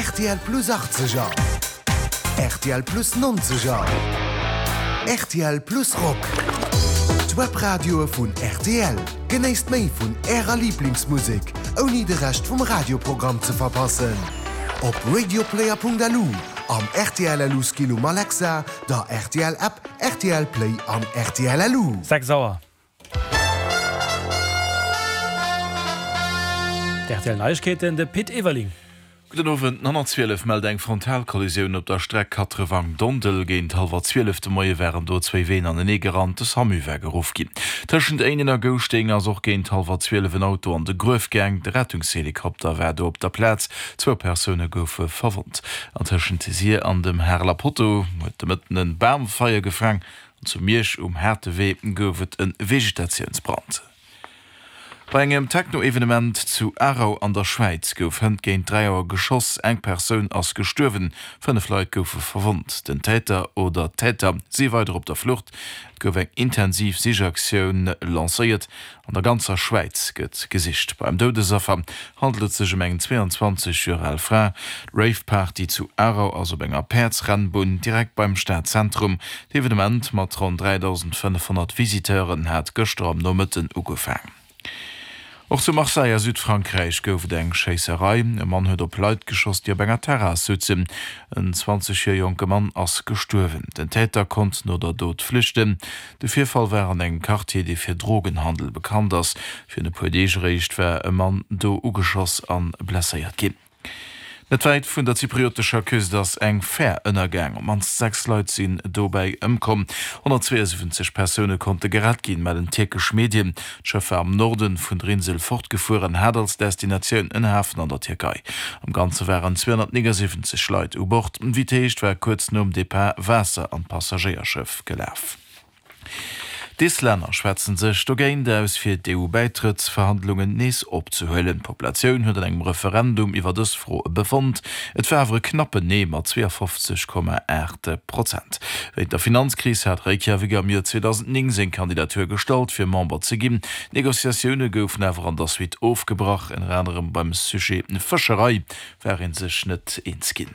Rtl Plus 80er, rtl Plus 90er, rtl Plus Rock. D'Webradioe vun rtl. Genéisst méi vun Ärer Liblingsmusek, ouni de Rescht vum Radioprogramm ze verpassen. Op radioplayer.lu, am rtl LU Skill um Alexa, der rtl App, rtl Play an rtl LU. 6 Auer. D'RTL Neiegkeeten, de Pit Everling. Gudden Owend. 912 mellt eng Frontalkollisioun op der Streck Katrewang-Dondel. Géint hallwer 12 de Moie waren do zwéi Ween anenee gerannt. De Samu war geruff ginn. Tëschent Éinen a Gouschteng ass och géint hallwer 12 en Auto an de Gruef gaang. De Rettungshelikopter war do op der Plaz. Zwou Persoune goufe verwonnt. An tëschent Sir an dem Hareler Potto huet de Mëtten en Bam Feier gefaang. An zu Miersch um Haartewee gouf et e Vegetatiounsbrand. Bei engem Techno-Evenement zu Aarau an der Schwäiz gouf hënt géint 3 Auer geschoss. Eng Persoun ass gestuerwen, 5 Leit goufe verwonnt. Den Täter oder d'Täter si weider op der Flucht. Et gouf eng intensiv Sichaktioun lancéiert. An der ganzer Schwäiz gëtt gesicht. Beim Doudesaffer handelt et sech ëm eng 22 Joer al Fra. D'Rave-Party zu Aarau ass op enger Päerdsrennbunn direkt beim Stadzentrum. D'Evenement mat ronn 3.500 Visiteuren hat gëschter am Nomëtten ugefaang. Och zu Marseille a Südfrankräich gouf et eng Schéisserei. E Mann huet op Leit geschoss, déi op enger Terrass souzen. En 20 Joer jonke Mann ass gestuerwen. Den Täter konnt no der Dot flüchten. De Virfall war an engem Quartier, dee fir Drogenhandel bekannt ass. Virun e puer Deeg eréischt war e Mann do ugeschoss a blesséiert ginn. Net wäit vun der zypriotescher Küst ass eng Fär ënnergaang. Op d'mannst 6 Leit sinn dobäi ëmkomm. 172 Persoune konnte gerett ginn, mellen tierkesch Medien. D'Schëff war am Norde vun der Insel fortgefuer an hat als Destinatioun en Hafen an der Tierkei. Am Ganze waren 279 Leit u Bord. Wéi et heescht, war kuerz nom Depart Waasser an d'Passagéierschëff gelaf. D'Islänner schwätzen sech dogéint aus, fir d'EU-Bäitrëttsverhandlungen nees opzehuelen. D'Populatioun huet an engem Referendum iwwer dës Fro befonnt. Et war awer e knappen Nee mat 52,8 Prozent. Wéint der Finanzkris hat Reykjavik am Joer 2009 seng Kandidatur gestallt, fir Member ze ginn. D'Negociatioune goufen awer an der Suite ofgebrach, ënner anerem beim Sujet Fëscherei war een sech net eens ginn.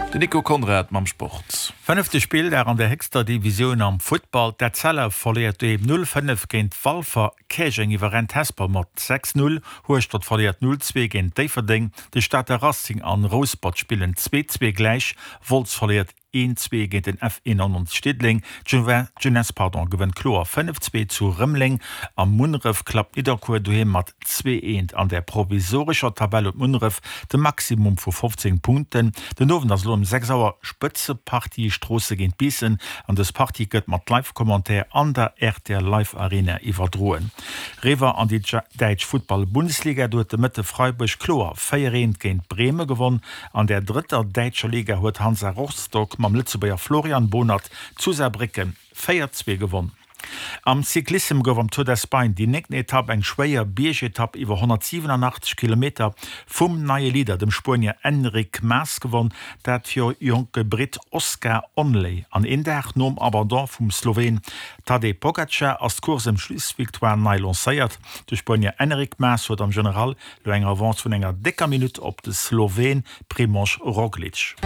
Den Nico Conrad mam Sport. Fënnefte Spilldag an der héchster Divisioun am Futtball. D'Etzella verléiert doheem 0, 5 géint Walfer, Käerjeng iwwerrennt Hesper mat 6, 0, Hueschtert verléiert 0, 2 géint Déifferdeng, de Stater Racing an Rouspert spillen 2, 2 gläich, Wolz verléiert 1, 2 géint den F91 Diddeleng, d'Jeunesse pardon gewënnt kloer 5, 2 zu Rëmeleng a Munneref klappt Nidderkuer doheem mat 2, 1. An der provisorescher Tabell huet Munneref de Maximum vu 15 Punkten. Den Owend ass elo ëm 6 Auer Spëtzepartie Stroosse géint Biissen an dës Partie gëtt mat Live-Commentaire an der rtl Live Arena iwwerdroen. Eriwwer an déi däitsch Futtball-Bundesliga, do huet de Mëtte Freiburg kloer 4, 1 géint Breme gewonn. An der drëtter däitscher Liga huet Hansa Rostock mam Lëtzebuerger Florian Bohnert zu Saarbrécken 4, 2 gewonn. Am Cyclissem gouf am Tour d'Espagne déi néngten Etapp, eng schwéier Biergetapp iwwer 187 Kilometer, vum neie Leader, dem Spuenier Enric Mas gewonn, dat viru jonke Britt Oscar Onley. An een Dag nom Abandon vum Sloween Tadej Pogacar ass d'Course ëm d'Schlussvictoire nei lancéiert. De Spuenier Enric Mas huet am General Lo eng Avance vun enger décker Minutt op de Sloween Primož Roglič.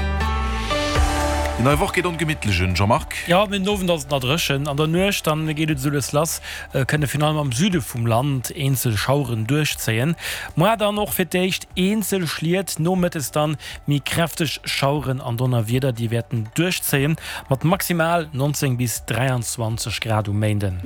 Déi nei Woch geet ongemittlech un, Jean-Marc. Jo, mee den Owend ass et nach dréchen. An der Nuecht dann geet et esou lues lass, kënne virun allem am Süde vum Land eenzel Schaueren duerchzéien. Moar dann och fir d'éischt eenzel Schliet, nomëttes dann méi kräfteg Schaueren an Donnerwieder, déi wäerten duerchzéien, mat maximal 19 bis 23 Grad um Méinden.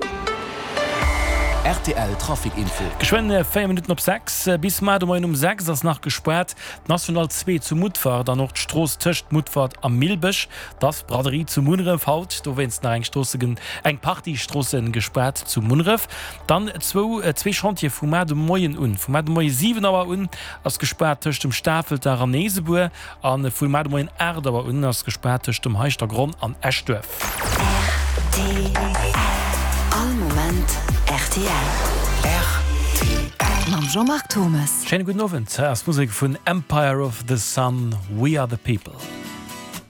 Rtl Trafic Info. Geschwënn 4 Minutten op 6. Bis mar de Moien um 6 ass nach gespaart d'National 2 zu Mutfert an och d'Strooss tëscht Mutfert a Millbech. T'ass Braderie zu Munneref haut, dowéinst nach eng Stroosse eng Partie Stroosse gespaart zu Munneref. Dann zwou zwee Chantiere vu mar de Moien un. Vu mar de Moie 7 Auer un ass gespaart tëscht dem Stafelter an Eesebuer a vu mar de Moien 8 Auer un ass gespaart tëscht dem Heischtergronn an Eschduerf. Rtl. All Moment rtl. Rtl. Mam Jean-Marc Thomes. Schéine gudden Owend. Hei ass d'Musek vun Empire of the Sun, We Are the People.